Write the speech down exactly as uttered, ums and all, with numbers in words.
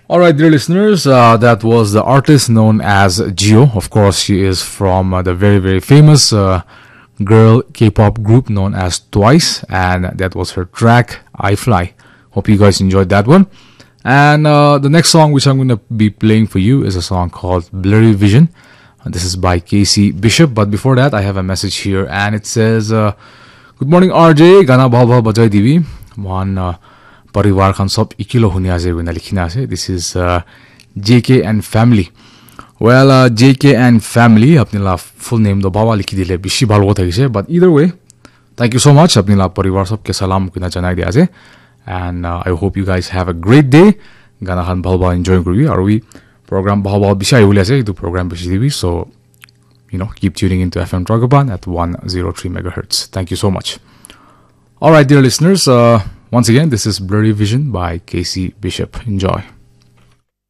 All right, dear listeners, uh, that was the artist known as Jio. Of course, she is from uh, the very, very famous uh, girl K-pop group known as Twice, and that was her track I Fly. Hope you guys enjoyed that one. And uh, the next song which I'm going to be playing for you is a song called Blurry Vision. This is by K C Bishop. But before that, I have a message here, and it says, uh, "Good morning, R J. Gana bhal bhal bajai dibi. Mohan uh, parivar khan sob ikilo huni ase koina likhina ase." This is uh, J K and family. Well, uh, J K and family, apni la full name do baba likhi dile bishi bhal hota thakise. But either way, thank you so much. Apni la parivar sob ke salam koina janai dia ase. And uh, I hope you guys have a great day. Gana khan bhal bhal enjoy kuri. Aru program bhal bhal bishi ahi bole ase. Etu program bishi dibi. So, you know, keep tuning into F M Dragaban at one zero three megahertz. Thank you so much. All right, dear listeners. Uh, once again, this is Blurry Vision by K C Bishop. Enjoy.